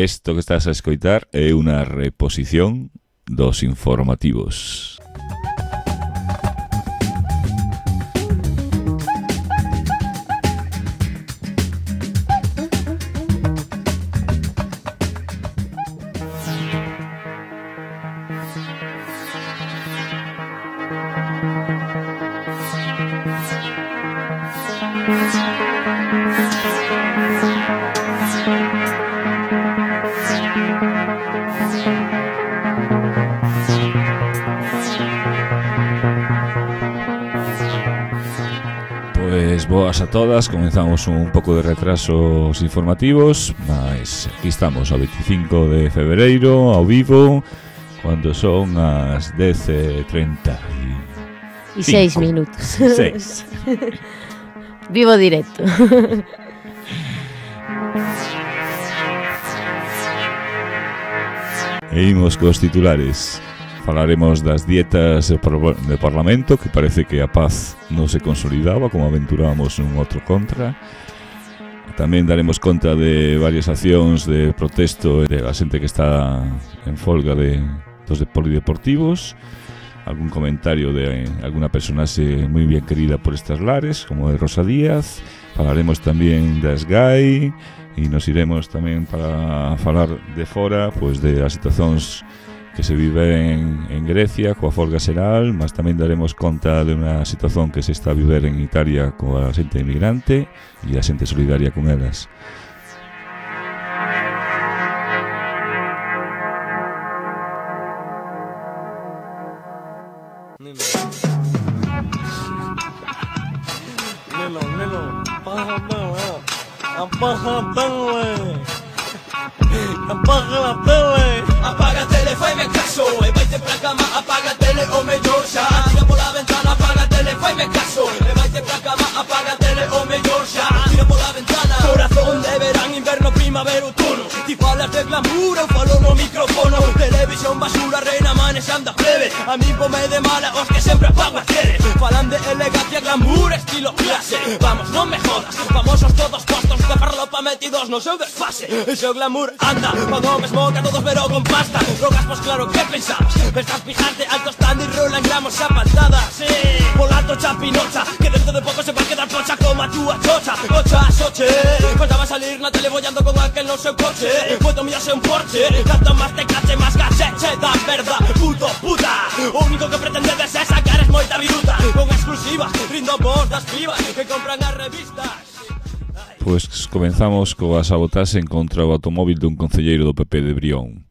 Isto que estás a escoitar é unha reposición dos informativos. Pois boas a todas, comenzamos un pouco de retraso os informativos, mas aquí estamos ao 25 de febreiro, ao vivo, cando son as 10:30 e 6 minutos. 6. Vivo directo. E imos cos titulares. Falaremos das dietas do Parlamento, que parece que a paz non se consolidaba, como aventurábamos un outro contra. Tamén daremos conta de varias accións de protesto de la xente que está en folga dos polideportivos. Algún comentario de alguna personaxe moi bien querida por estas lares, como é Rosa Díaz. Falaremos tamén da SGAI e nos iremos tamén para falar de fora, pois de as situacións que se viven en Grecia coa folga xeral, mas tamén daremos conta de unha situación que se está a viver en Italia coa xente inmigrante e a xente solidaria con elas. Apaga a tele, faime caso, e vaite pra cama, apaga a tele, o mellor xa. Tira pola ventana, apaga a tele, faime caso, e vaite pra cama, apaga a tele, o mellor xa. Tira pola ventana, corazón de verán, inverno, primavera, outono. Ti falas de glamour, eu falo no micrófono. Televisión basura, reina, manexando a plebe. A mí pome de mala, os que sempre apago a tele. Falan de elegancia, glamour, estilo clase. Vamos, non me jodas, famosos todos postos de farlopa metidos no seu desfase. E seu glamour anda, pago mesmo que a todos pero con pasta. Drogas, pues claro, que pensabas? Pensas fijarte alto stand y rolan gramos a paltada. Sí, volato chapinocha, que dentro de poco se va a quedar pocha como a túa chocha. Ocha, soche, cuando va a salir na tele bollando con aquel no seu coche. Puedo mirarse un Porsche, tanto más te cache, más cacheche da verdad, puto, puta. O único que pretendedes é sacar es moita viruta. Con exclusivas, rindo vos das pibas que compran as revistas. Pois comenzamos coa sabotaxe contra o automóvil dun concelleiro do PP de Brión.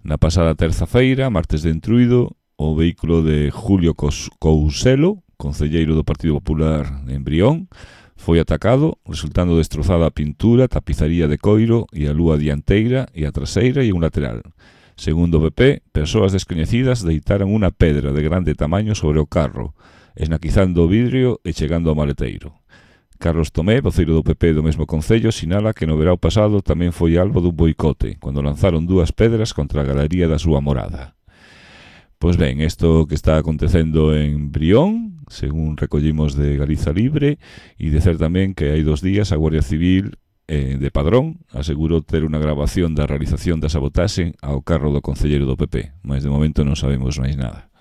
Na pasada terza-feira, martes de Entruido, o vehículo de Julio Couselo, concelleiro do Partido Popular en Brión, foi atacado, resultando destrozada a pintura, tapizaría de coiro e a lúa dianteira e a traseira e un lateral. Segundo o PP, persoas descoñecidas deitaran unha pedra de grande tamaño sobre o carro, esnaquizando o vidrio e chegando ao maleteiro. Carlos Tomé, voceiro do PP do mesmo concello, sinala que no verao pasado tamén foi albo dun boicote, cando lanzaron 2 pedras contra a galería da súa morada. Pois ben, isto que está acontecendo en Brión, según recollimos de Galiza Libre, e dicer tamén que hai 2 días a Guardia Civil de Padrón asegurou ter unha grabación da realización da sabotaxe ao carro do concelleiro do PP, mas de momento non sabemos máis nada.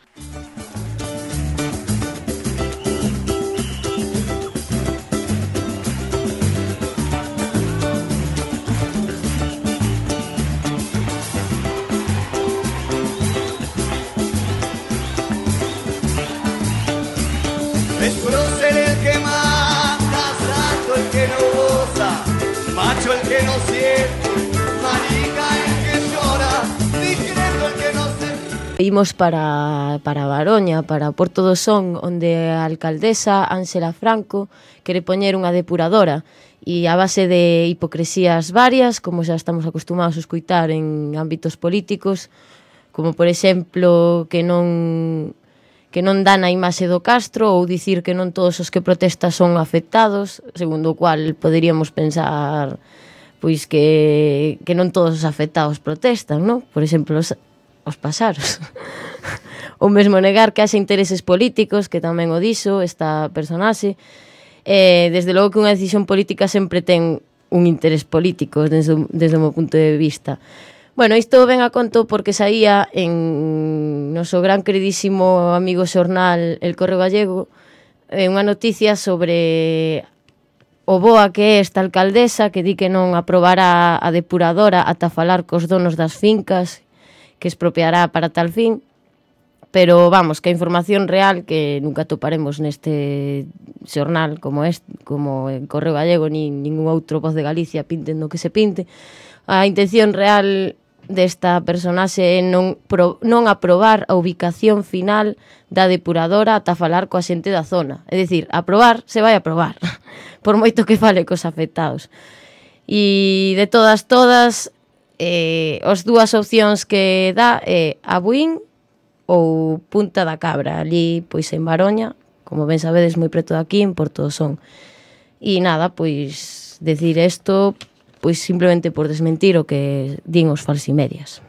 Es prócer el que mata, santo el que no goza, macho el que no siente, marica el que llora, discreto el que no se... Imos para Baroña, para Porto do Son, onde a alcaldesa Ángela Franco quere poñer unha depuradora e a base de hipocresías varias, como xa estamos acostumados a escoitar en ámbitos políticos, como por exemplo que non dan a imaxe do Castro ou dicir que non todos os que protestan son afectados, segundo o cual poderíamos pensar pois que non todos os afectados protestan, non? Por exemplo, os pasaros. Ou mesmo negar que haxe intereses políticos, que tamén o dixo esta personaxe. Desde logo que unha decisión política sempre ten un interés político desde o meu punto de vista. Bueno, isto ven a conto porque saía en noso gran queridísimo amigo xornal El Correo Gallego unha noticia sobre o boa que é esta alcaldesa que di que non aprobará a depuradora ata falar cos donos das fincas que expropiará para tal fin, pero vamos, que a información real que nunca toparemos neste xornal como en Correo Gallego ni ningún outro Voz de Galicia, pinten do que se pinte. A intención real desta personaxe é non aprobar a ubicación final da depuradora ata falar coa xente da zona. É dicir, aprobar, se vai aprobar, por moito que fale cos afectados. E de todas, as dúas opcións que dá é a Buín ou Punta da Cabra, ali pois en Baroña, como ben sabedes moi preto de aquí, en Porto do Son. E nada, pois decir isto pois simplemente por desmentir o que din os falsimedias.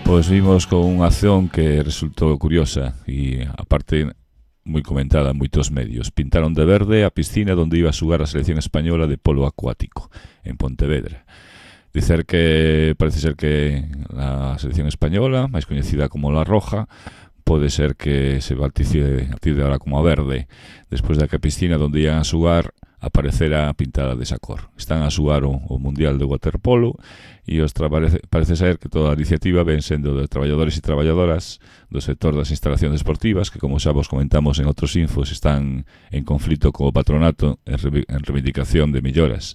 Pois vimos con unha acción que resultou curiosa e, aparte, moi comentada en moitos medios. Pintaron de verde a piscina onde iba a xugar a selección española de polo acuático, en Pontevedra. Parece ser que a selección española, máis coñecida como La Roja, pode ser que se bautice a partir de ahora como a verde, despois da que a piscina onde iban a xugar aparecerá pintada desa cor. Están a xugar o Mundial de Waterpolo e parece ser que toda a iniciativa ven sendo de traballadores e traballadoras do sector das instalacións deportivas que, como xa vos comentamos en outros infos, están en conflito co patronato en reivindicación de melloras.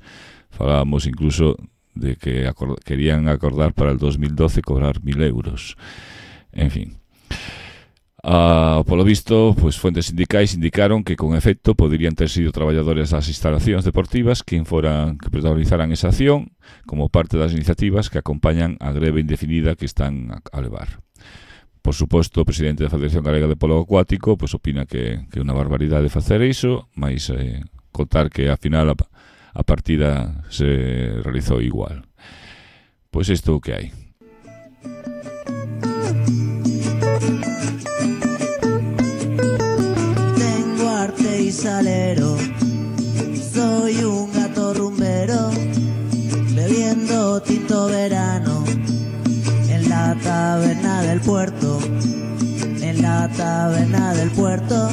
Falábamos incluso de que querían acordar para el 2012 cobrar 1.000 euros. En fin. Polo visto, pois fuentes sindicais indicaron que con efecto poderían ter sido traballadores das instalacións deportivas que protagonizaran esa acción como parte das iniciativas que acompañan a greve indefinida que están a levar. Por suposto, o presidente da Federación Galega de Polo Acuático pois opina que é unha barbaridade facer iso, mas contar que ao final a partida se realizou igual. Pois isto é o que hai. Salero, soy un gato rumbero, bebiendo tinto verano, en la taberna del puerto, en la taberna del puerto.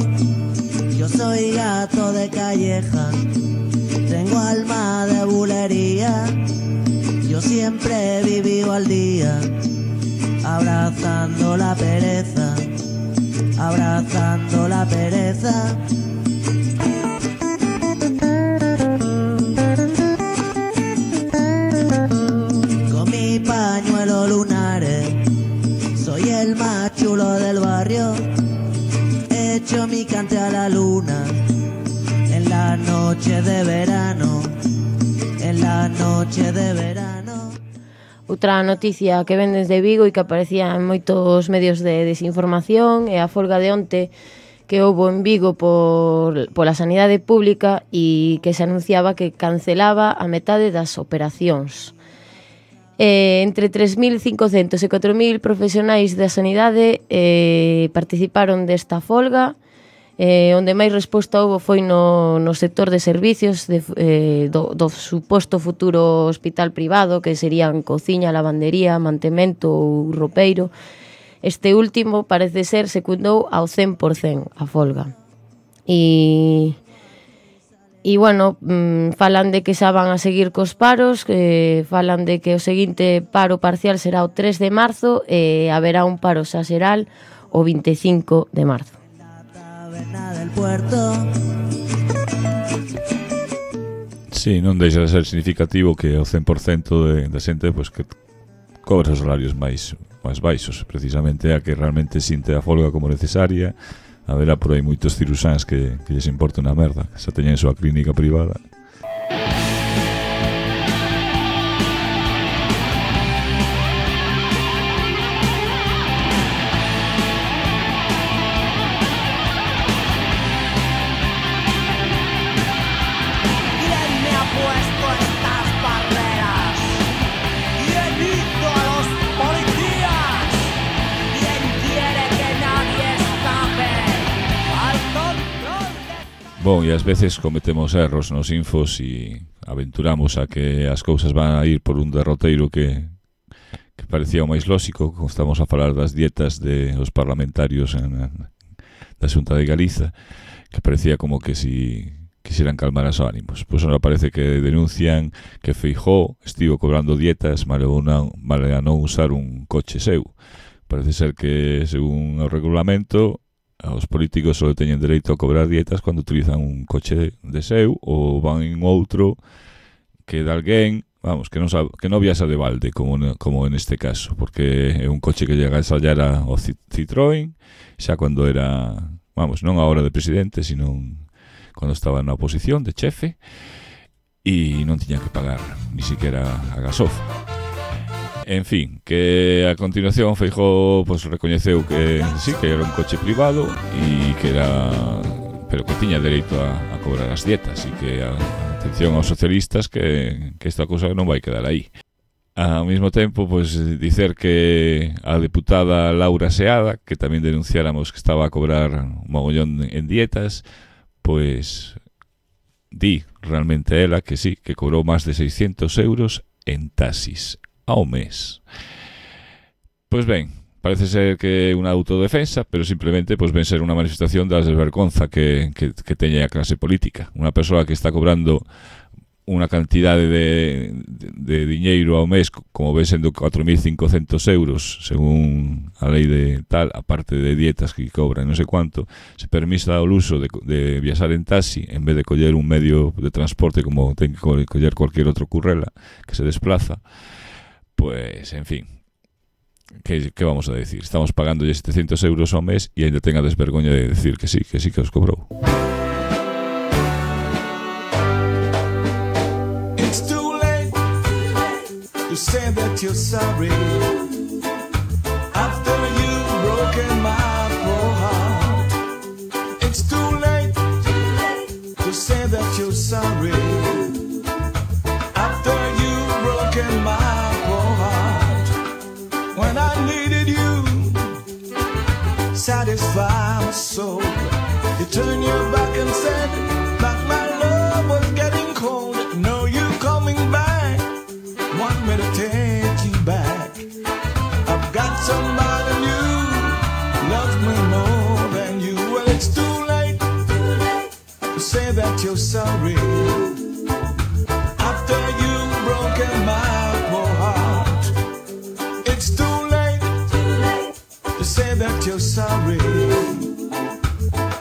Yo soy gato de calleja, tengo alma de bulería, yo siempre he vivido al día, abrazando la pereza, abrazando la pereza. Pañuelo lunares, soy el más chulo del barrio, echo mi cante a la luna, en la noche de verano, en la noche de verano. Outra noticia que ven desde Vigo e que aparecía en moitos medios de desinformación é a folga de onte que houbo en Vigo pola sanidade pública e que se anunciaba que cancelaba a metade das operacións. Entre 3.500 e 4.000 profesionais da sanidade participaron desta folga, onde máis resposta houbo foi no sector de servicios do suposto futuro hospital privado, que serían cociña, lavandería, mantemento ou roupeiro. Este último parece ser secundou ao 100% a folga. E bueno, falan de que xa van a seguir cos paros, falan de que o seguinte paro parcial será o 3 de marzo e haberá un paro xa xeral o 25 de marzo. Sí, non deixa de ser significativo que o 100% da xente pois, que cobra os salarios máis baixos, precisamente a que realmente sinte a folga como necesaria. Haberá por aí moitos cirusáns que lles importa unha merda, que xa teñen súa clínica privada. Bon, e ás veces cometemos erros nos infos e aventuramos a que as cousas van a ir por un derroteiro que parecía o máis lóxico, como estamos a falar das dietas de os parlamentarios da Xunta de Galiza, que parecía como que si quisieran calmar os ánimos. Pois ahora parece que denuncian que Feijóo estivo cobrando dietas male a non usar un coche seu. Parece ser que, según o regulamento, os políticos só teñen dereito a cobrar dietas cando utilizan un coche de seu ou van en outro que de alguén, vamos, que non viaxa de balde, como en este caso, porque é un coche que llega a ensayar o Citroën, xa cando era, vamos, non a hora de presidente, sino cando estaba na oposición de chefe, e non tiña que pagar ni siquiera a gasofa. En fin, que a continuación Feijóo pues recoñeceu que sí, que era un coche privado e que era, pero que tiña dereito a cobrar as dietas, e que atención aos socialistas que esta cousa non vai quedar aí. Ao mesmo tempo, pues dicer que a deputada Laura Seada, que tamén denunciáramos que estaba a cobrar un mogollón en dietas, pues di realmente ela que sí, que cobrou máis de 600 euros en taxis ao mes. Pois ben, parece ser que é unha autodefensa, pero simplemente pues, ven ser unha manifestación da desvergonza que teña a clase política. Unha persoa que está cobrando unha cantidade de diñeiro ao mes, como ven sendo 4.500 euros, según a lei de tal, aparte de dietas que cobran non sei cuánto, se permisa o uso de viaxar en taxi, en vez de coller un medio de transporte como ten que coller cualquier outro currela que se desplaza. Pues, en fin, ¿qué vamos a decir? Estamos pagando 700 euros ao mes e ainda ten a desvergoña de decir que sí que os cobrou. It's too late to say that you're sorry after you've broken my poor heart. It's too late to say that you're sorry after you've broken my when I needed you, satisfy my soul. You turned your back and said that my love was getting cold. No, you coming back, want me to take you back. I've got somebody new, loves me more than you. Well, it's too late to say that you're sorry after you've broken my poor heart. It's too late to say that you're sorry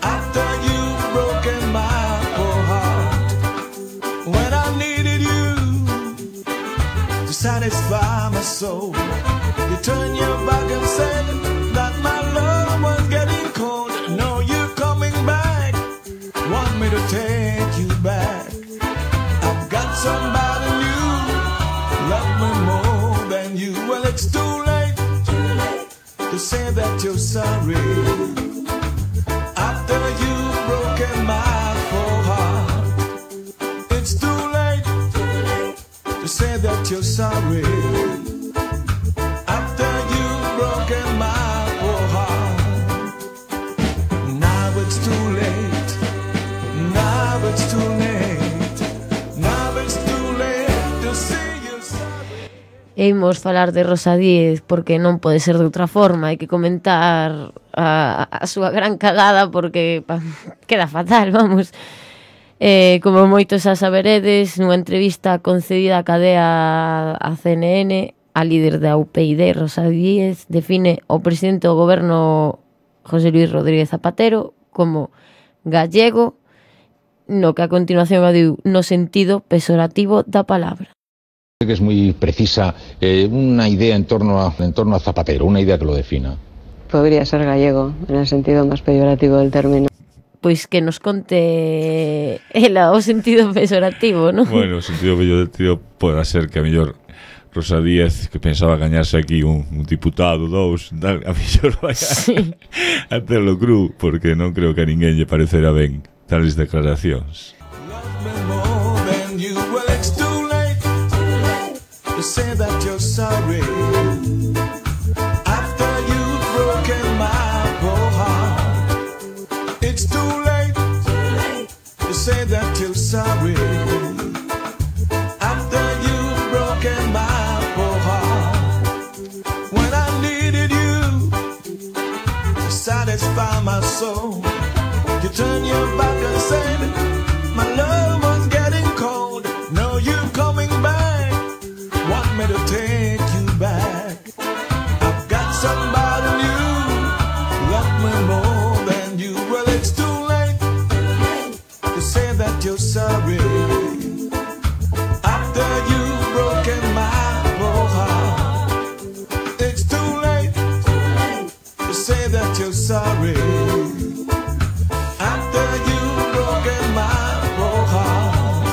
after you've broken my poor heart. When I needed you to satisfy my soul, you turned your back and said that my love was getting cold. No, you're coming back, want me to take you back. I've got somebody new, love me more than you. Well, it's too late to say that you're sorry after you've broken my poor heart. It's too late to say that you're sorry after you've broken my poor heart. Now it's too late, now it's too late, now it's too late to say you're sorry. Imos falar de Rosa Díez porque non pode ser de outra forma. Hai que comentar a súa gran cagada porque queda fatal, vamos. Como moitos xa saberedes, nunha entrevista concedida a cadea a CNN, a líder da UPyD, Rosa Díez, define o presidente do goberno José Luis Rodríguez Zapatero como gallego, no que a continuación adiu no sentido peyorativo da palabra. Que es muy precisa, una idea en torno a Zapatero, una idea que lo defina. Podría ser gallego, en el sentido más peyorativo del término. Pois que nos conte ela o sentido peyorativo, non? Bueno, o sentido peyorativo pode ser que a mellor Rosa Díez, que pensaba gañarse aquí un diputado, dous, a mellor vai a terlo cru, porque non creo que a ninguén lle parecerá ben tales declaracións. To say that you're sorry after you've broken my poor heart. It's too late say that you're sorry after you've broken my poor heart. When I needed you to satisfy my soul, you turn your back and said my love was getting cold. Now you're coming back, want me to take you back. I've got somebody new, love me more than you. Well, it's too late to say that you're sorry after you've broken my poor heart. It's too late to say that you're sorry after you've broken my poor heart.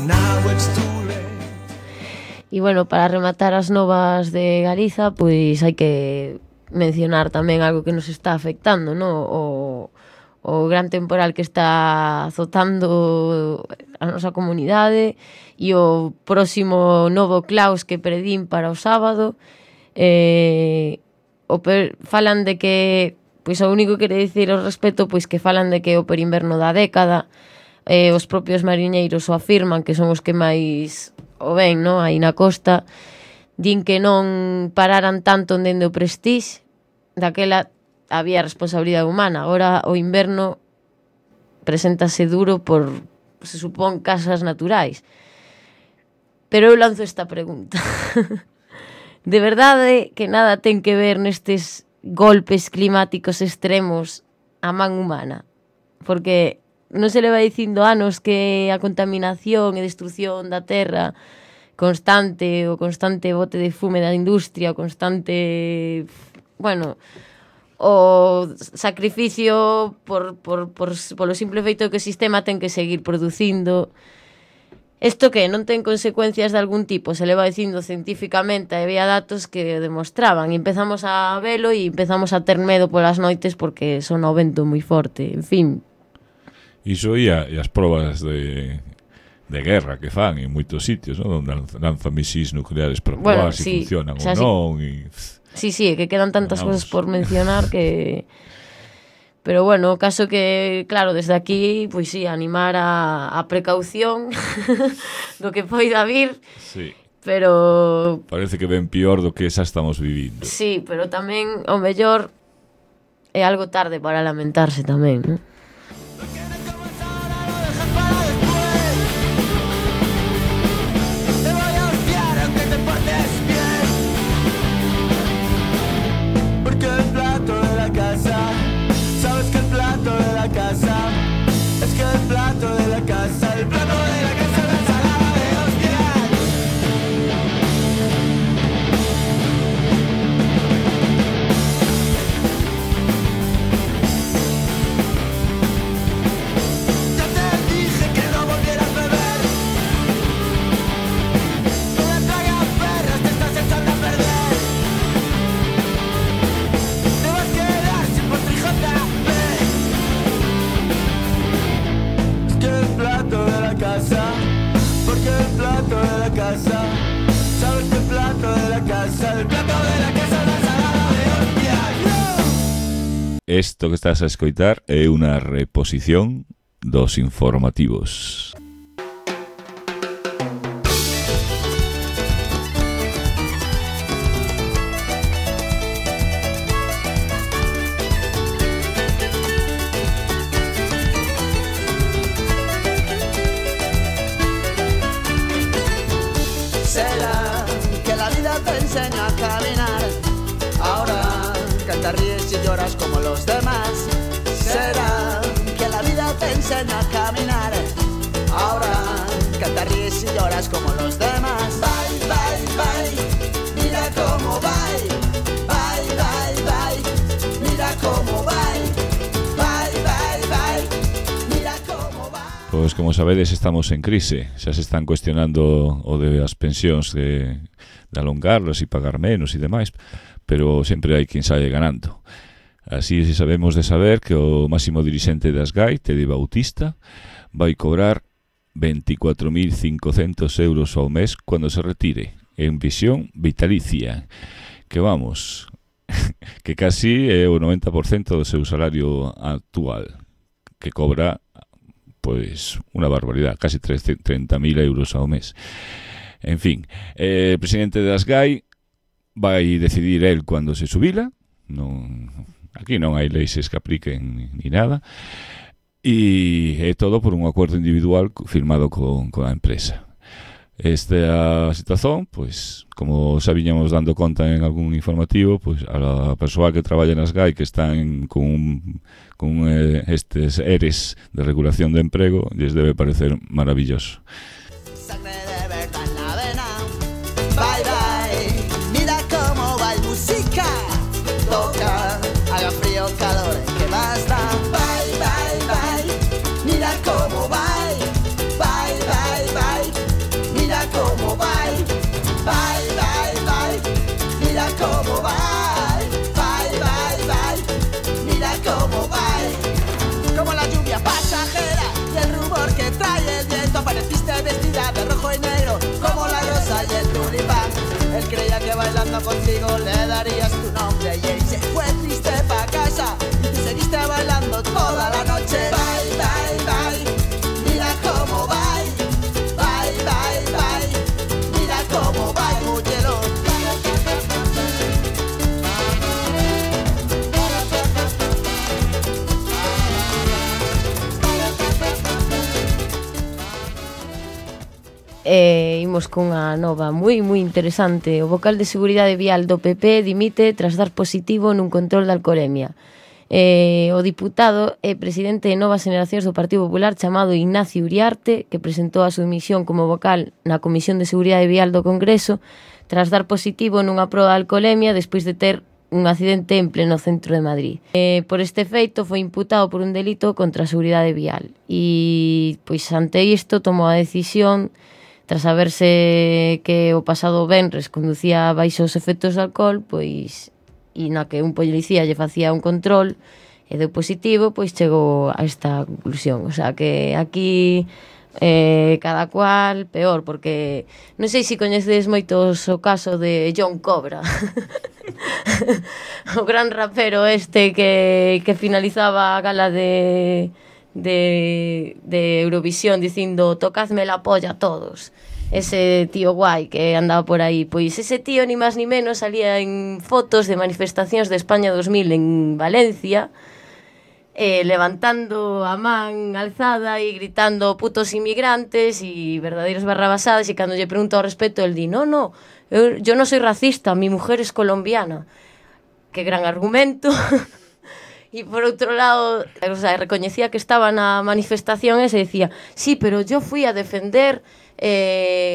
Now it's too late. E bueno, para rematar as novas de Galiza, pois hai que mencionar tamén algo que nos está afectando, no? O gran temporal que está azotando a nosa comunidade e o próximo novo claus que predín para o sábado. Falan de que, pois o único que quere dicir ao respecto, pois que falan de que o perinverno da década, os propios mariñeiros o afirman, que son os que máis o ven, no? Aí na costa, din que non pararan tanto dende o Prestige, daquela había responsabilidade humana, agora o inverno preséntase duro por, se supón, casas naturais. Pero eu lanzo esta pregunta. De verdade que nada ten que ver nestes golpes climáticos extremos a man humana? Porque non se leva dicindo anos que a contaminación e destrucción da terra constante, o constante bote de fume da industria, o constante, bueno, o sacrificio polo simple feito que o sistema ten que seguir producindo. Isto que non ten consecuencias de algún tipo, se leva dicindo científicamente, había datos que demostraban, e empezamos a velo e empezamos a ter medo polas noites porque son o vento moi forte, en fin. Iso e as probas de guerra que fan en moitos sitios, non? Onde lanzan misís nucleares para probar se funcionan ou non. Sí, que quedan tantas cosas por mencionar que... Pero bueno, o caso que, claro, desde aquí, pois sí, animar a precaución do que poida vir. Sí. Pero... Parece que ven pior do que xa estamos vivindo. Sí, pero tamén, o mellor, é algo tarde para lamentarse tamén, non? Isto que estás a escoitar é unha reposición dos informativos. Será que la vida te enseña a caminar, ahora que te ríes y lloras como los demás. Será que la vida te enseña a caminar, ahora que te ríes y lloras como los demás. Bye, bye, bye, mira cómo bye. Bye, bye, bye, mira cómo bye. Bye, bye, bye, mira cómo bye. Pois como sabedes, estamos en crise. Xa se están cuestionando o de as pensións de alongarlas e pagar menos e demais, pero sempre hai quen sae ganando. Así sabemos de saber que o máximo dirixente das GAI, Tede Bautista, vai cobrar 24.500 euros ao mes cando se retire, en visión vitalicia, que vamos, que casi é o 90% do seu salario actual, que cobra pois unha barbaridade, casi 30.000 euros ao mes. En fin, o presidente das GAI vai decidir el cando se xubila, aquí non hai leis que apliquen ni nada, e é todo por un acordo individual firmado con a empresa. Esta situación, pois, como xa viñamos dando conta en algún informativo, pois a persoa que traballa nas GAI que están con estes ERES de regulación de emprego, lles debe parecer maravilloso. Sangre de verdad en la vena. Bye bye, mira cómo va el música. Toca, haga frío, calor, que basta. Bye bye bye, mira cómo va. Bye bye bye, mira cómo va. Bye bye bye, mira cómo va. Bye bye bye, mira cómo va. Como la lluvia pasajera y el rumor que trae el viento, apareciste vestida de rojo y negro como la rosa y el tulipán. Él creía que bailando contigo le darías tu nombre y él se fue triste pa' casa y tú seguiste bailando toda la noche. Bye bye bye, mira cómo va. Bye bye bye, mira cómo va el muchelo. Imos cunha nova moi interesante. O vocal de seguridade vial do PP dimite tras dar positivo nun control de alcolemia. O diputado e presidente de Novas Generacións do Partido Popular chamado Ignacio Uriarte, que presentou a súa dimisión como vocal na Comisión de Seguridade Vial do Congreso tras dar positivo nunha proba de alcolemia despois de ter un accidente en pleno centro de Madrid. Por este feito foi imputado por un delito contra a seguridade vial e pois ante isto tomou a decisión, tras saberse que o pasado venres conducía baixo os efectos de alcohol, pois e na que un policía lle facía un control e deu positivo, pois chegou a esta conclusión. O sea que aquí cada cual peor, porque non sei se coñecedes moitos o caso de John Cobra o gran rapero este que finalizaba a gala de Eurovisión dicindo tocadme la polla a todos. Ese tío guai que andaba por aí, pois ese tío ni máis ni menos salía en fotos de manifestacións de España 2000 en Valencia, levantando a man alzada e gritando putos inmigrantes e verdadeiras barrabasadas, e cando lle pregunto ao respecto el di, no, yo no soy racista, mi mujer es colombiana. Que gran argumento. E por outro lado, o sea, recoñecía que estaba na manifestación e se decía, sí, pero yo fui a defender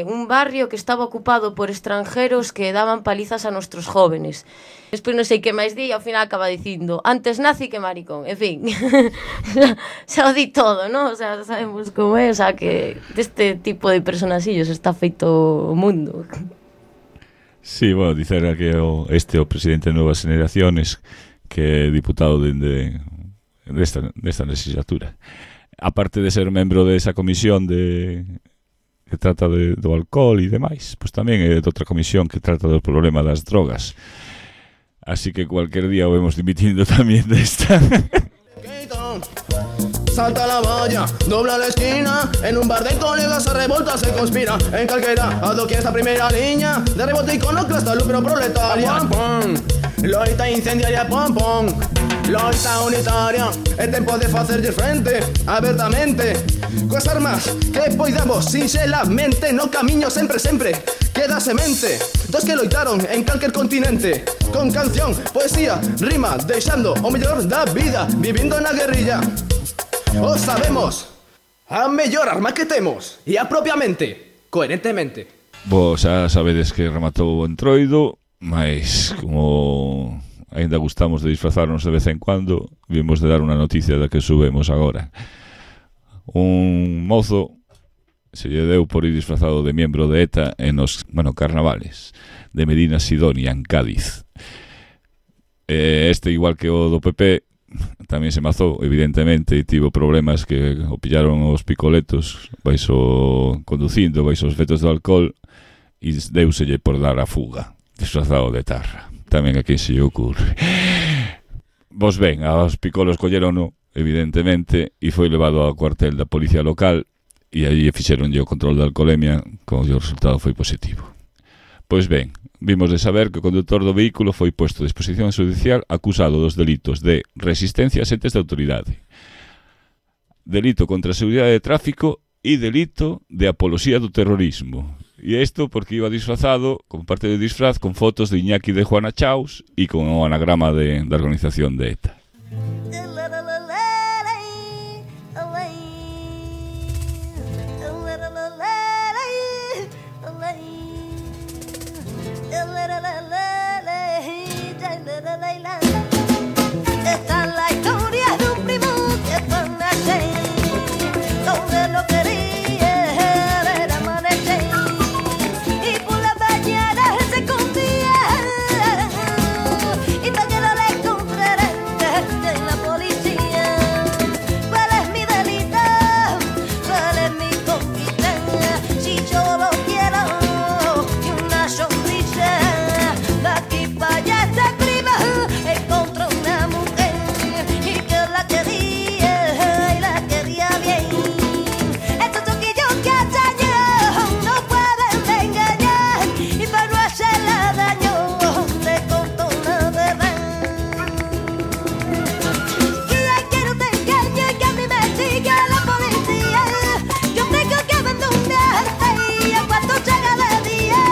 un barrio que estaba ocupado por extranjeros que daban palizas a nuestros jóvenes. Despois non sei que máis di, ao final acaba dicindo antes nazi que maricón, en fin. xa o di todo, ¿no? O sea, sabemos como é, o sea, que deste tipo de personaxillos está feito o mundo. Sí, bueno, dicer que o presidente de Novas Generaciones, que é diputado desta legislatura, aparte de ser membro desa comisión que trata do alcohol e demais, pois tamén é de outra comisión que trata do problema das drogas. Así que cualquier día o vemos dimitindo tamén desta. Salta la valla, dobla la esquina. En un bar de colegas se revolta, se conspira. En calquera, a do que esta primera línea de rebote iconoclasta, lucro proletaria. Loita incendiaria, pom pom. Loita unitaria, é tempo de facerlle frente abertamente coas armas que poidamos sinxelamente no camiño sempre queda semente dos que loitaron en calquer continente con canción, poesía, rima, deixando o mellor da vida vivindo na guerrilla. O sabemos, a mellor arma que temos e apropiamente, coherentemente. Vos xa sabedes que rematou o Entroido, mas como ainda gustamos de disfrazarnos de vez en cuando, vimos de dar unha noticia da que subemos agora. Un mozo se lle deu por ir disfrazado de miembro de ETA en os, carnavales de Medina Sidonia, en Cádiz. Este, igual que o do PP, tamén se mazou, evidentemente, e tivo problemas que o pillaron os picoletos conducindo baixo os efectos do alcohol e deuselle por dar a fuga, disfrazado de tarra. Tamén a quen se lle ocurre. Vos ven, aos picolos collerono evidentemente, e foi levado ao cuartel da policía local e aí fixeronlle o control de alcoholemia, como o resultado foi positivo. Pois ben, vimos de saber que o conductor do vehículo foi posto a disposición judicial acusado dos delitos de resistencia a entes de autoridade, delito contra a seguridade de tráfico e delito de apoloxía do terrorismo. E isto porque iba disfrazado, como parte do disfraz, con fotos de Iñaki de Juana Chaus e con o anagrama da organización de ETA. Esta es la historia de un primo que fue nacer, donde lo quería ver amanecer, y por la mañana se escondía, y mañana le encontraré en la policía. ¿Cuál es mi delito? ¿Cuál es mi conquista? Si yo lo quiero y una sonrisa, de aquí para allá esta prima encontró una mujer y que la quería y la quería bien. Estos toquillos que hallaños no pueden engañar, y para no hacerla daño le contó la verdad. Chiquilla, que no te engañes, que a mí me sigue la policía. Yo tengo que abandonarte y en cuanto llega de día.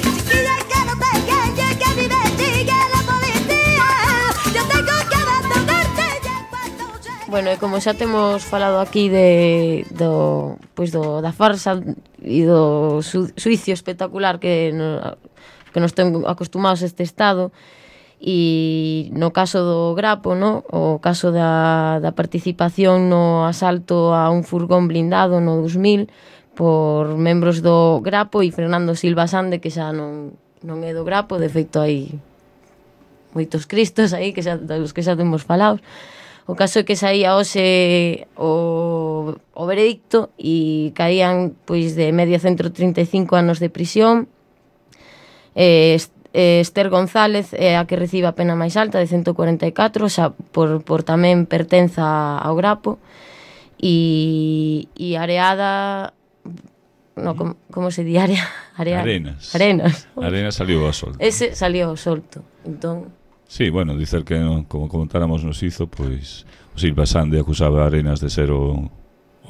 Chiquilla, que no te engañes, que a mí me sigue la policía. Yo tengo que abandonarte y en cuanto llega. Bueno, e como xa temos falado aquí da farsa e do suicio espectacular que nos ten acostumados este Estado, e no caso do Grapo, no? O caso da participación no asalto a un furgón blindado no 2000 por membros do Grapo e Fernando Silva Sande, que xa non é do Grapo, de feito hai moitos cristos aí que dos que xa temos falado. O caso é que saía hoxe o veredicto e caían pois de media 135 anos de prisión. Esther González é a que recibe a pena máis alta de 144, xa por tamén pertenza ao Grapo, e Areada, no, como se di? Arenas saliu ao solto. Ese saliu ao solto. Entón, sí, bueno, dicer que, como comentáramos nos hizo, pois o Silva Sande acusaba a Arenas de ser o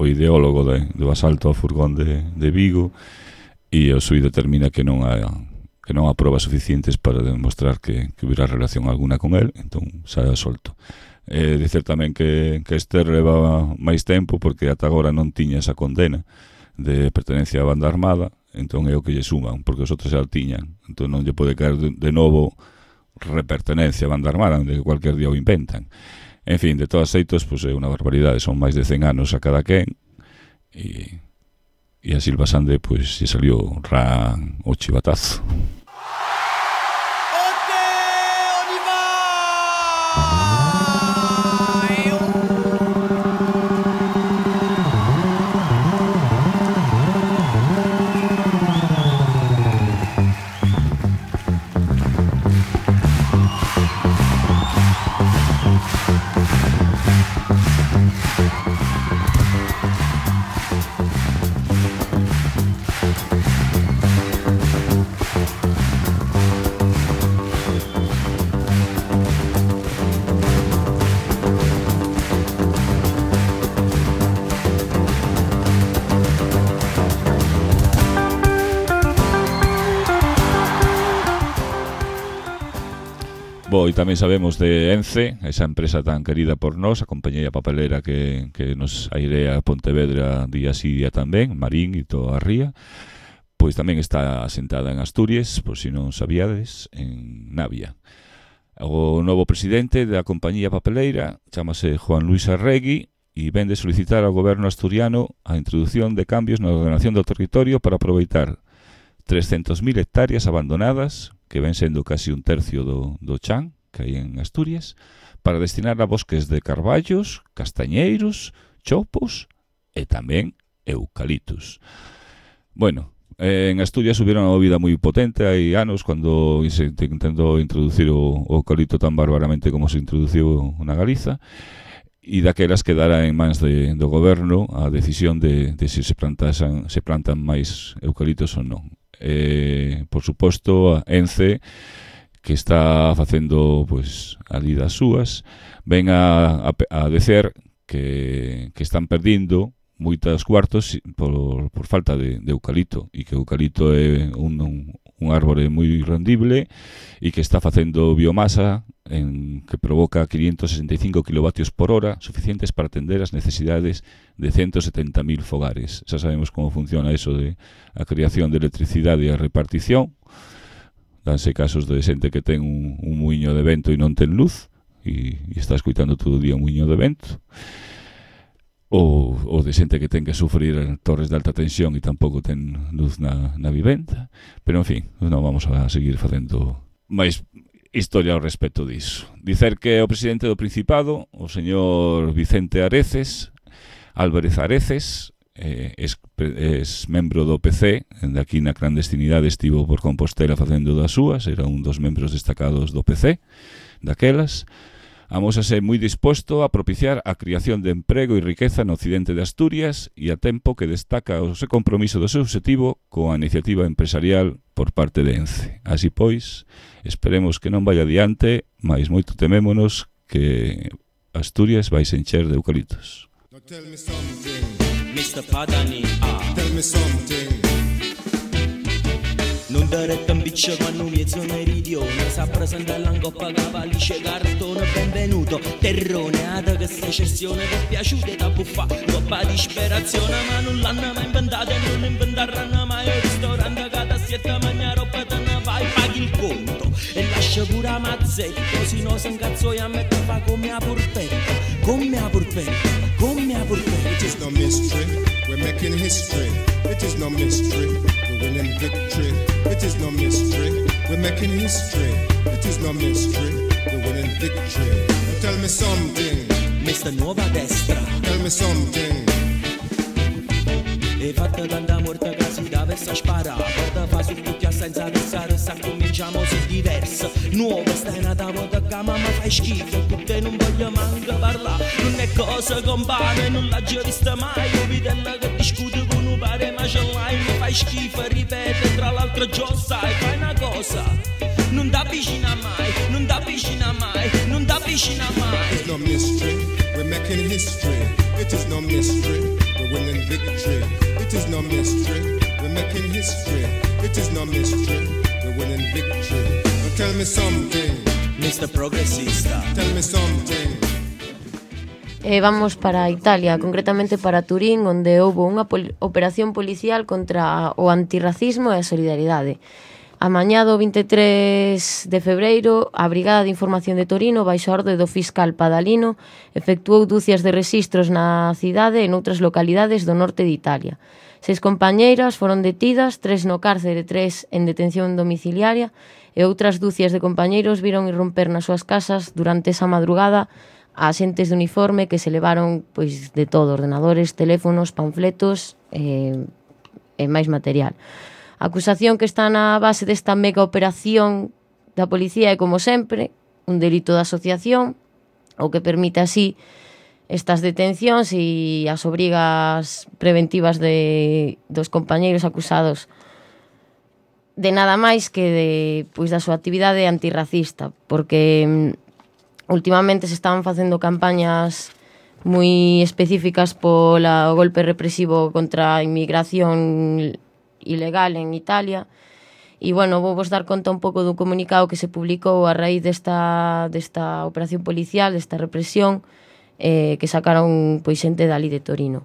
ideólogo do asalto ao furgón de Vigo, e o xuíz determina que non há probas suficientes para demostrar que hubiera relación alguna con él, entón sae solto. Dicer tamén que Esther levaba máis tempo porque ata agora non tiña esa condena de pertenencia á banda armada, entón é o que lle suman, porque os outros xa tiñan, entón non lle pode caer de novo repertenencia a banda armada, onde cualquier día o inventan. En fin, de todos xeitos, pois é unha barbaridade, son máis de 100 anos a cada quen, e a Silva Sande pois lle salió ran o chivatazo. E tamén sabemos de Ence, esa empresa tan querida por nós, a compañía papelera que nos airea a Pontevedra día sí día tamén, Marín e toda a ría, pois tamén está asentada en Asturias, por si non sabíades, en Navia. O novo presidente da compañía papeleira chamase Juan Luis Arregui e vende solicitar ao goberno asturiano a introducción de cambios na ordenación do territorio para aproveitar 300.000 hectáreas abandonadas, que ven sendo casi un tercio do chan que hai en Asturias, para destinar a bosques de carballos, castañeiros, chopos e tamén eucaliptus. Bueno, En Asturias hubieron unha movida moi potente hai anos cando se intentou introducir o eucalipto tan bárbaramente como se introduciu na Galiza, e daquelas quedara en mans do goberno a decisión de se plantan máis eucaliptos ou non. Por suposto, a ENCE, que está facendo pois ali das súas, ven a decer que están perdindo moitas cuartos por falta de eucalipto, e que o eucalipto é un árbore moi rendible e que está facendo biomasa que provoca 565 kilovatios por hora, suficientes para atender as necesidades de 170.000 fogares. Xa sabemos como funciona eso de a creación de electricidade e a repartición. Danse casos de xente que ten un muiño de vento e non ten luz e está escoitando todo o día un muiño de vento, ou de xente que ten que sufrir torres de alta tensión e tampouco ten luz na vivenda. Pero, en fin, non vamos a seguir facendo máis historia ao respecto disso. Dicer que o presidente do Principado, o señor Vicente Álvarez Areces, es membro do PC, de aquí na clandestinidade estivo por Compostela facendo das súas, era un dos membros destacados do PC daquelas. Amósase moi disposto a propiciar a creación de emprego e riqueza no occidente de Asturias e a tempo que destaca o seu compromiso do seu objetivo coa iniciativa empresarial por parte de ENCE. Así pois, esperemos que non vai adiante, mais moito temémonos que Asturias vai se encher de eucaliptos. Tell me something, Mr. Padani, tell me something. Non dare tambiccio quando mezzo meridione sa presenta l'angoppa cavallisce cartone benvenuto terrone ada che sta cessione che piaciute da buffa coppa di disperazione ma non l'hanno mai inventato e non inventeranno mai il ristorante che da siete mangia roba te ne vai paghi il conto e lascia pure a mazzetti così no se incazzo e a me fa come a porpetta come a porpetta come a porpetta. It is no mystery we're making history. It is no mystery we're winning victory. It is no mystery, we're making history. It is no mystery, we're winning victory. Tell me something, Mr. Nuova Destra. Tell me something. E fatta tanta morte che si deve sparare. Porta fa su tutti senza pensare, sa cominciamo se diverso. Nuova stai nata volta che mamma fai schifo, con te non voglio manco parlare. Non è cosa compare, non l'ha già vista mai. Io vidella che discute con un pare ma ce l'hai, mi fai schifo, ripete, tra l'altro già sai, fai una cosa. Non t'avvicina mai, non t'avvicina mai, non t'avvicina mai. It's no mystery, we're making history. It is no mystery, we're winning victory. It is no mystery, we're making history. It is no mystery, we're winning victory. Now tell me something, Mr. Progressista. Tell me something. Vamos para Italia, concretamente para Turín, onde houve unha operación policial contra o antirracismo e a solidaridade. A mañá do 23 de febreiro, a Brigada de Información de Torino, baixo a orde do fiscal Padalino, efectuou dúcias de rexistros na cidade e noutras localidades do norte de Italia. 6 compañeiras foron detidas, 3 no cárcere e 3 en detención domiciliaria, e outras dúcias de compañeiros viron irromper nas súas casas durante esa madrugada a xentes de uniforme que se levaron pois de todo, ordenadores, teléfonos, panfletos e máis material. A acusación que está na base desta mega operación da policía é, como sempre, un delito de asociación, o que permite así estas detencións e as obrigas preventivas dos compañeiros acusados de nada máis que da súa actividade antirracista, porque últimamente se estaban facendo campañas moi específicas polo golpe represivo contra a inmigración ilegal en Italia. E, bueno, vou vos dar conta un pouco dun comunicado que se publicou a raíz desta operación policial, desta represión, que sacaron pois xente dali de Torino.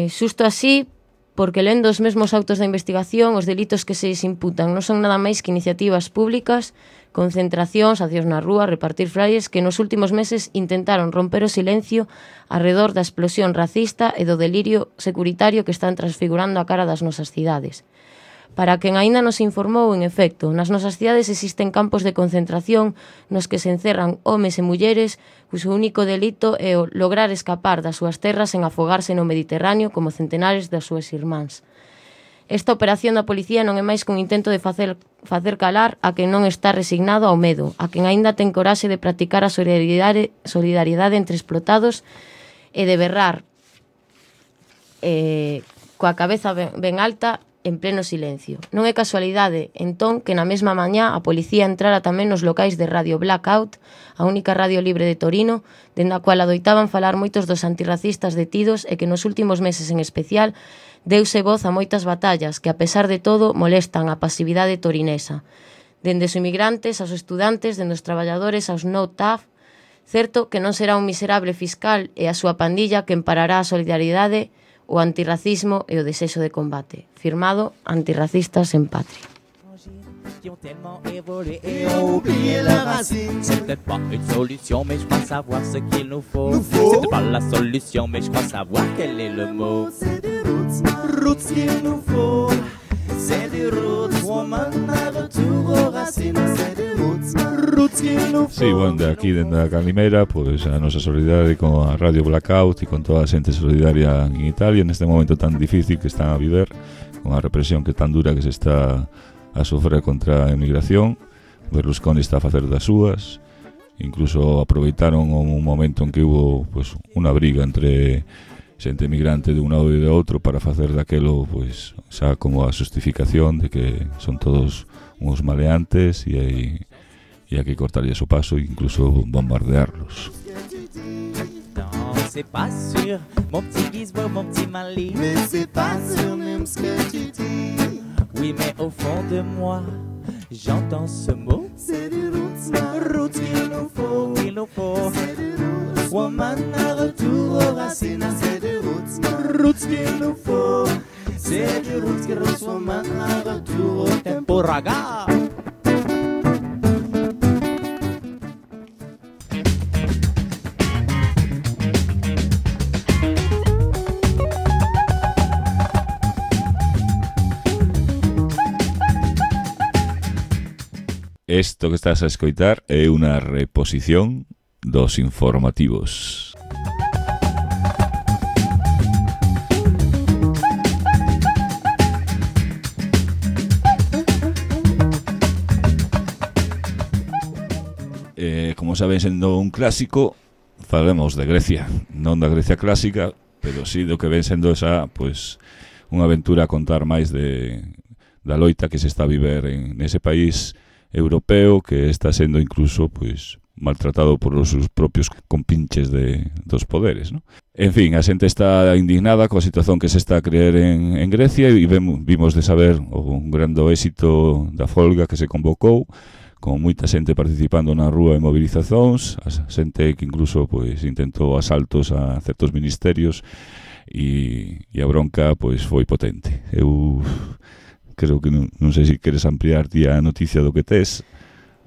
Xusto así, porque lendo os mesmos autos da investigación, os delitos que se imputan non son nada máis que iniciativas públicas, concentracións, accións na rúa, repartir flyers que nos últimos meses intentaron romper o silencio arredor da explosión racista e do delirio securitario que están transfigurando a cara das nosas cidades. Para quen aínda nos informou, en efecto, nas nosas cidades existen campos de concentración nos que se encerran homes e mulleres cuxo único delito é o lograr escapar das súas terras en afogarse no Mediterráneo como centenares das súas irmáns. Esta operación da policía non é máis que un intento de facer calar a quen non está resignado ao medo, a quen aínda ten coraxe de practicar a solidariedade entre explotados e de berrar coa cabeza ben alta en pleno silencio. Non é casualidade, entón, que na mesma mañá a policía entrara tamén nos locais de Radio Blackout, a única radio libre de Torino, dende a cual adoitaban falar moitos dos antirracistas detidos e que nos últimos meses en especial deuse voz a moitas batallas que, a pesar de todo, molestan a pasividade torinesa. Dende os inmigrantes, aos estudantes, dende os traballadores, aos no-TAF, certo que non será un miserable fiscal e a súa pandilla que emparará a solidariedade, o antirracismo e o desexo de combate. Firmado Antirracistas en Patria. Qui ont tellement évolué et ont oublié leurs racines. C'est peut-être pas une solution, mais je crois savoir ce qu'il nous faut. C'est peut-être pas la solution, mais je crois savoir quel est le mot. C'est des roots qu'il nous faut. C'est des roots, woman, à retour aux racines. C'est des roots qu'il nous faut. Sí, bueno, de aquí, dende a Calimera, pues a nosa solidaridade con a Radio Blackout e con toda a xente solidaria en Italia neste momento tan difícil que están a viver, con a represión que tan dura que se está a sofrer contra a emigración. Berlusconi está a facer das súas, incluso aproveitaron un momento en que hubo pues unha briga entre xente emigrante de un lado e de outro para facer daquelo pues xa como a justificación de que son todos uns maleantes e hai que cortarlles o paso e incluso bombardearlos. C'est pas sûr, mon petit Gizmo, mon petit Mali. Mais c'est pas sûr même ce que tu dis. Oui, mais au fond de moi, j'entends ce mot. C'est du roots qu'il nous faut. C'est du roots, woman, à retour aux racines. C'est du roots qu'il nous faut. C'est du roots, woman, à retour au tempo raga. Esto que estás a escoitar é unha reposición dos informativos. Como saben, sendo un clásico, falemos de Grecia, non da Grecia clásica, pero sí do que ven sendo esa, pues, unha aventura a contar máis da loita que se está a viver nese país europeo que está sendo incluso pues maltratado por os seus propios compinches dos poderes, ¿no? En fin, a xente está indignada coa situación que se está a creer en Grecia e vimos de saber un grande éxito da folga que se convocou con moita xente participando na rúa en movilizacións, a xente que incluso pues intentou asaltos a certos ministerios e a bronca pues foi potente. Eu creo que non sei se queres ampliar ti a noticia do que tes.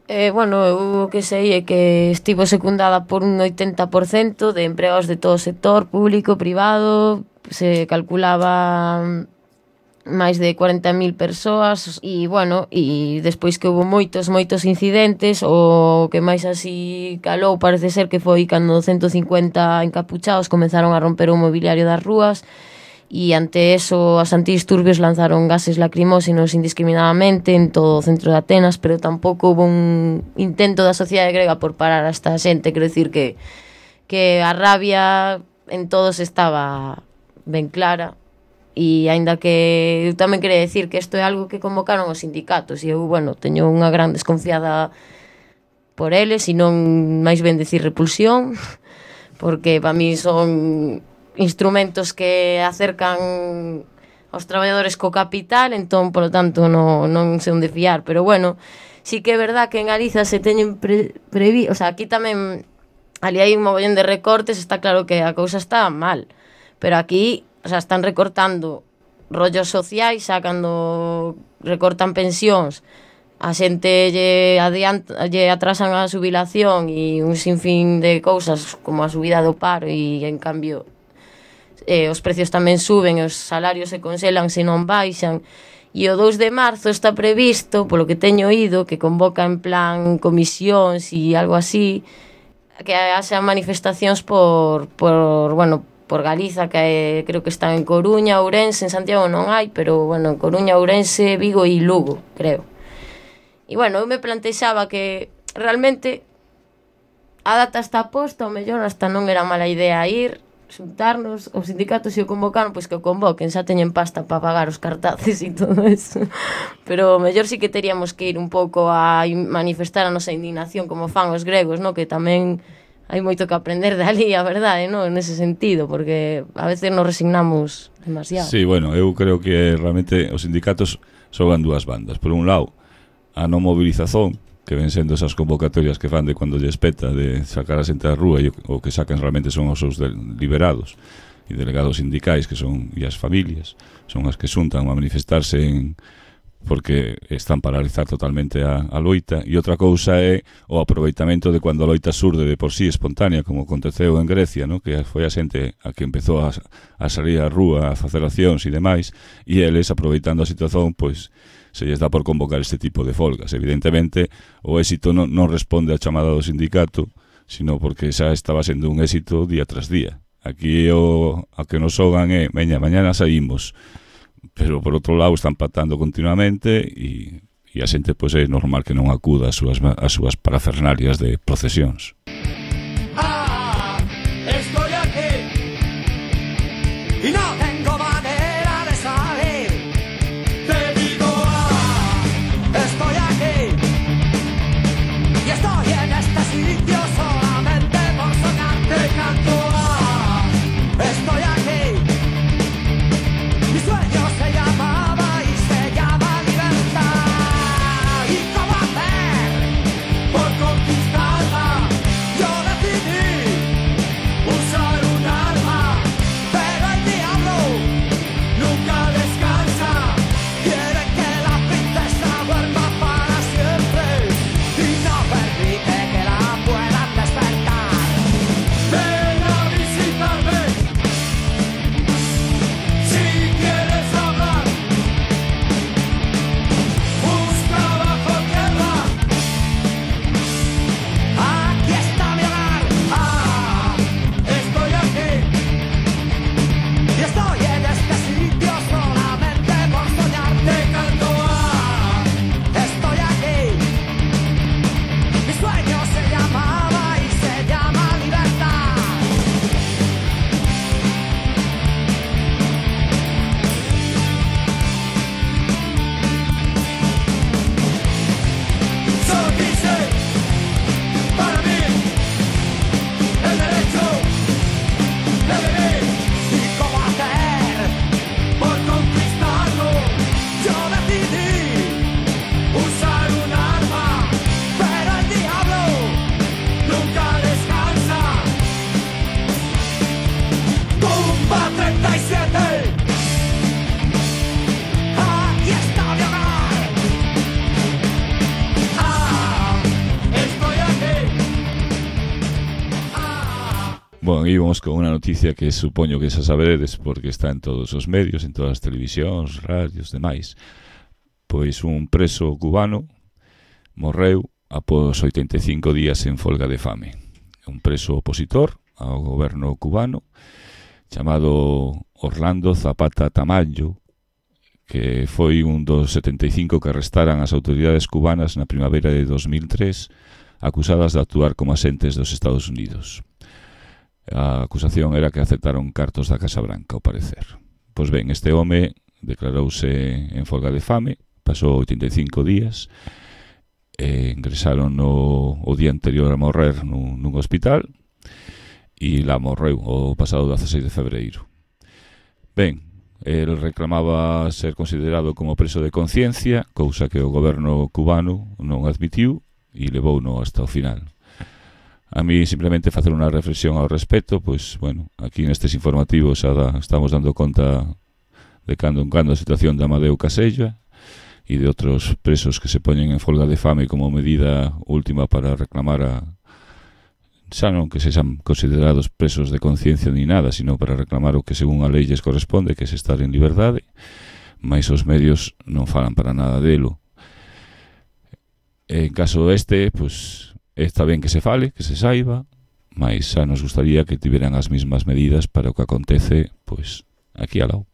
Bueno, o que sei é que estivo secundada por un 80% de empregados de todo o sector, público, privado, se calculaba máis de 40.000 persoas e, bueno, e despois que houve moitos incidentes, o que máis así calou parece ser que foi cando 150 encapuchados comenzaron a romper o mobiliario das rúas. E ante eso as antidisturbios lanzaron gases lacrimóxenos indiscriminadamente en todo o centro de Atenas, pero tampouco houve un intento da sociedade grega por parar a esta xente. Quero dicir que a rabia en todos estaba ben clara, e aínda que eu tamén quería decir que isto é algo que convocaron os sindicatos, e eu, bueno, teño unha gran desconfiada por eles, e non máis ben decir repulsión, porque para mí son instrumentos que acercan aos traballadores co capital, entón, polo tanto, non sei onde fiar. Pero, bueno, sí que é verdad que en Galiza se teñen previsto, o sea, aquí tamén, ali hai un mogollón de recortes, está claro que a cousa está mal, pero aquí, o sea, están recortando rollos sociais, cando recortan pensións, a xente lle atrasan a xubilación e un sinfín de cousas como a subida do paro, e, en cambio, os precios tamén suben, os salarios se congelan se non baixan, e o 2 de marzo está previsto, polo que teño oído, que convoca en plan comisións e algo así, que haxa manifestacións por por Galiza, que creo que están en Coruña, Ourense, en Santiago non hai, pero, bueno, en Coruña, Ourense, Vigo e Lugo, creo. E, bueno, eu me plantexaba que realmente a data está posta, ao mellor hasta non era mala idea ir, xuntarnos, os sindicatos se o convocaron, pois que o convoquen, xa teñen pasta para pagar os cartaces e todo eso. Pero mellor sí que teríamos que ir un pouco a manifestar a nosa indignación como fan os gregos, no? Que tamén hai moito que aprender dali, a verdade, no? Nese sentido, porque a veces nos resignamos demasiado. Sí, bueno, eu creo que realmente os sindicatos xogan dúas bandas. Por un lado, a non movilización, que ven sendo esas convocatorias que fan de cando lle espeta de sacar a xente á rúa, e o que sacan realmente son os seus liberados e delegados sindicais, que son e as familias, son as que xuntan a manifestarse porque están para realizar totalmente a loita. E outra cousa é o aproveitamento de cando a loita surde de por sí espontánea, como aconteceu en Grecia, no? Que foi a xente a que empezou a salir á rúa, a facer accións e demais, e eles, aproveitando a situación, pois se lles dá por convocar este tipo de folgas. Evidentemente, o éxito non responde á chamada do sindicato, sino porque xa estaba sendo un éxito día tras día. Aquí a que nos xogan é, mañana saímos, pero por outro lado están patando continuamente e a xente pois é normal que non acuda ás súas parafernalias de procesións. Estoy aquí y no tengo manera de salir. Te digo, estoy aquí y estoy en este sitio solamente por soñar. Te canto, estoy aquí. Mi sueño se llamaba y se llama libertad. ¿Y cómo hacer por conquistarla? Yo decidí usar un arma, pero el diablo nunca descansa. Quiere que la princesa duerma para siempre y no permite que la puedan despertar. Ven a visitarme si quieres hablar. Busca bajo tierra. Aquí está mi hogar. Estoy aquí y estoy en este sitio solamente por soñar. Te canto, estoy aquí. Mi sueño se llamaba y se llama libertad. Solo quise para mí el derecho de vivir. ¿Y cómo hacer por conquistarlo? Yo decidí usar un arma, pero el diablo nunca descansa. Tumba 37. Aquí está mi hogar. Estoy aquí. Bueno, aí vamos con unha noticia que supoño que xa saberedes porque está en todos os medios, en todas as televisións, radios, demais. Pois un preso cubano morreu após 85 días en folga de fame. Un preso opositor ao goberno cubano chamado Orlando Zapata Tamayo, que foi un dos 75 que arrestaran as autoridades cubanas na primavera de 2003, acusadas de actuar como asentes dos Estados Unidos. A acusación era que aceptaron cartos da Casa Branca, ao parecer. Pois ben, este home declarouse en folga de fame, pasou 85 días, ingresaron o día anterior a morrer nun hospital, e lá morreu o pasado 16 de febreiro. Ben, el reclamaba ser considerado como preso de conciencia, cousa que o goberno cubano non admitiu e levouno hasta o final. A mí simplemente facer unha reflexión ao respecto, pois, bueno, aquí nestes informativos estamos dando conta de cando en cando a situación de Amadeu Casella e de outros presos que se poñen en folga de fame como medida última para reclamar xa non que sexan considerados presos de conciencia ni nada, sino para reclamar o que según a lei lles corresponde, que é estar en liberdade, mas os medios non falan para nada delo. En caso pois está ben que se fale, que se saiba, mas xa nos gustaría que tiveran as mesmas medidas para o que acontece pois aquí ao lado.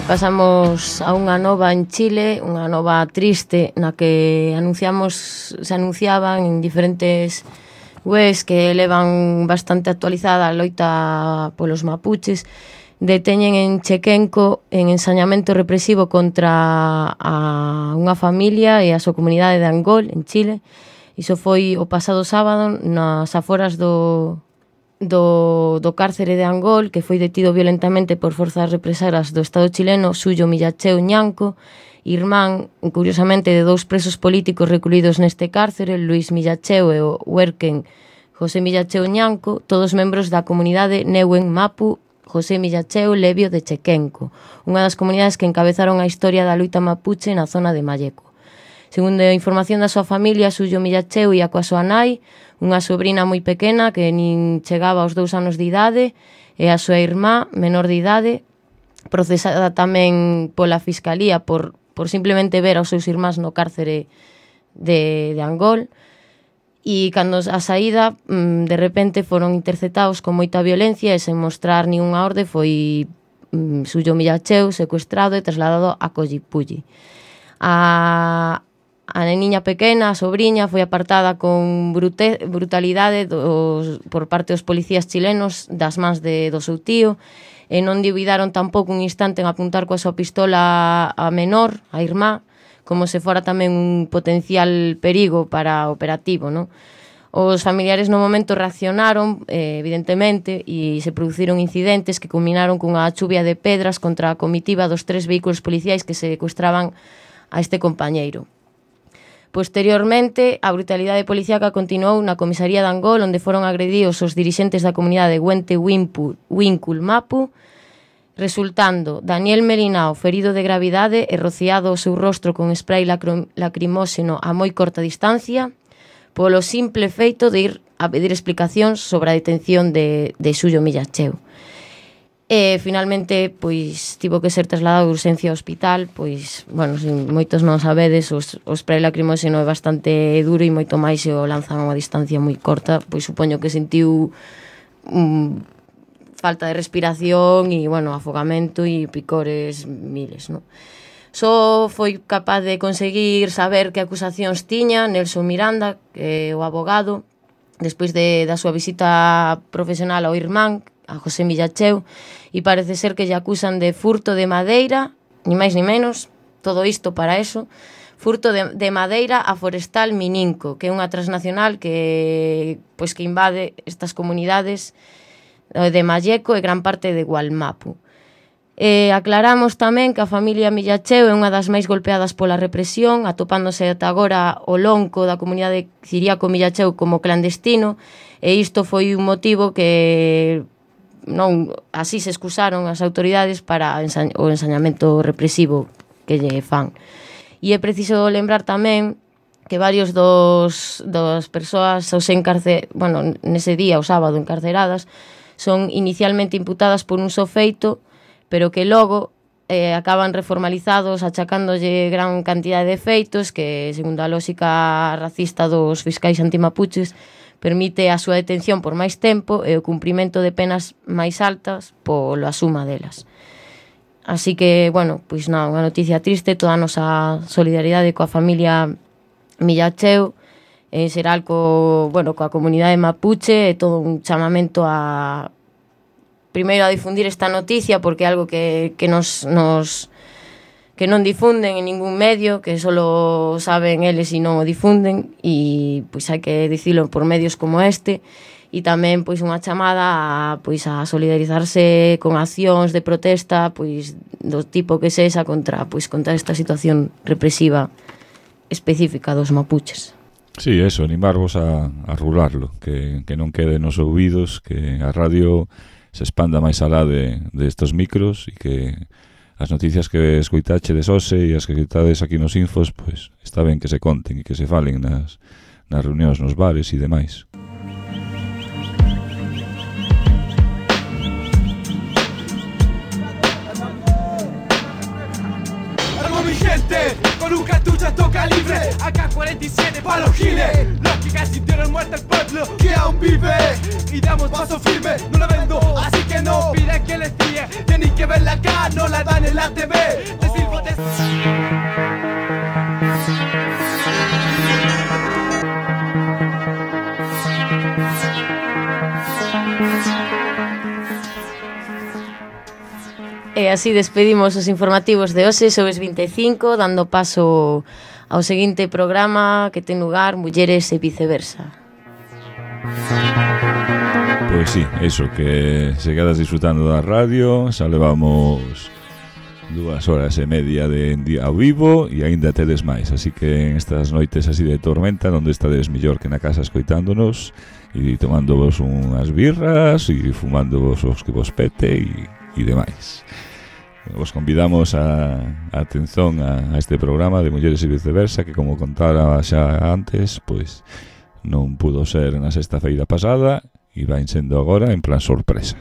Pasamos a unha nova en Chile, unha nova triste, na que se anunciaban en diferentes webs que levan bastante actualizada a loita polos mapuches. Deteñen en Chequenco en ensañamento represivo contra unha familia e a súa comunidade de Angol, en Chile. Iso foi o pasado sábado nas aforas do cárcere de Angol, que foi detido violentamente por forzas represoras do Estado chileno Suyo Millacheu Ñanco, irmán, curiosamente, de dous presos políticos recluídos neste cárcere, Luis Millacheu e o huerquen José Millacheu Ñanco, todos membros da comunidade Neuen Mapu José Millacheu Levio de Chequenco, unha das comunidades que encabezaron a historia da loita mapuche na zona de Malleco. Segundo a información da súa familia, Suyo Millacheu ia coa súa nai, unha sobrina moi pequena que nin chegaba aos 2 anos de idade, e a súa irmá, menor de idade, procesada tamén pola Fiscalía por simplemente ver aos seus irmáns no cárcere de Angol. E cando a saída, de repente, foron interceptados con moita violencia e sen mostrar ninguna orde, foi Suyo Millacheu secuestrado e trasladado a Collipulli. A neniña pequena, a sobriña, foi apartada con brutalidade por parte dos policías chilenos das mans do seu tío, e non dubidaron tampouco un instante en apuntar coa súa pistola a menor, a irmá, como se fora tamén un potencial perigo para o operativo, non? Os familiares no momento reaccionaron, evidentemente, e se produciron incidentes que culminaron cunha chuvia de pedras contra a comitiva dos 3 vehículos policiais que secuestraban a este compañeiro. Posteriormente, a brutalidade policíaca continuou na comisaría de Angol, onde foron agredidos os dirixentes da comunidade Huente Wincul Mapu, resultando Daniel Melinao ferido de gravidade e rociado o seu rostro con spray lacrimóxeno a moi corta distancia, polo simple feito de ir a pedir explicacións sobre a detención de Suyo Millacheu. E finalmente, pois, tivo que ser trasladado de urxencia ao hospital, pois, bueno, se moitos non sabedes, o spray lacrimóxeno é bastante duro e moito máis se o lanzan a unha distancia moi corta, pois supoño que sentiu falta de respiración e, bueno, afogamento e picores miles, non? Só foi capaz de conseguir saber que acusacións tiña Nelson Miranda, que é o abogado, despois da súa visita profesional ao irmán, a José Millacheu, e parece ser que lle acusan de furto de madeira, ni máis ni menos, todo isto para eso, furto de madeira a Forestal Mininco, que é unha transnacional que invade estas comunidades de Malleco e gran parte de Gualmapu. Aclaramos tamén que a familia Millacheu é unha das máis golpeadas pola represión, atopándose ata agora o lonco da comunidade Ciriaco Millacheu como clandestino, e isto foi un motivo que non así se excusaron as autoridades para o ensañamento represivo que lle fan. E é preciso lembrar tamén que varios das persoas nese día, o sábado, encarceradas, son inicialmente imputadas por un só feito, pero que logo acaban reformalizados achacándolle gran cantidade de feitos que, segundo a lógica racista dos fiscais antimapuches, permite a súa detención por máis tempo e o cumprimento de penas máis altas pola suma delas. Así que, bueno, pois non, unha noticia triste, toda a nosa solidaridade coa familia Millacheu, en xeral coa comunidade mapuche, e todo un chamamento a primeiro a difundir esta noticia, porque é algo que non difunden en ningún medio, que solo saben eles e non o difunden, e pois hai que dicilo por medios como este, e tamén pois unha chamada a solidarizarse con accións de protesta pois do tipo que sexa contra esta situación represiva específica dos mapuches. Sí, eso, animarvos a rularlo, que non quede nos ouvidos, que a radio se expanda máis alá de estos micros e que as noticias que escoitachedes hoxe e as que escoitades aquí nos infos, pois está ben que se conten e que se falen nas reunións, nos bares e demais. Con un cartucho alto calibre, AK-47 pa' los giles. Los que casi dieron muerte al pueblo, que aún vive. Y damos paso firme, no la vendo, así que no piden que les fíe. Tienen que verla acá, no la dan en la TV. Te sirvo de... E así despedimos os informativos de hoxe, Xoves 25, dando paso ao seguinte programa que ten lugar Mulleres e Viceversa. Pois sí, eso, que se quedas disfrutando da radio, xa levamos 2 horas e media de día ao vivo e aínda tedes máis, así que en estas noites así de tormenta, onde estades mellor que na casa escoitándonos e tomándovos unhas birras e fumandovos os que vos pete e demais. Vos convidamos a atención a este programa de Mulleres e Viceversa, que como contara xa antes, pois non pudo ser na sexta feira pasada e vai sendo agora en plan sorpresa.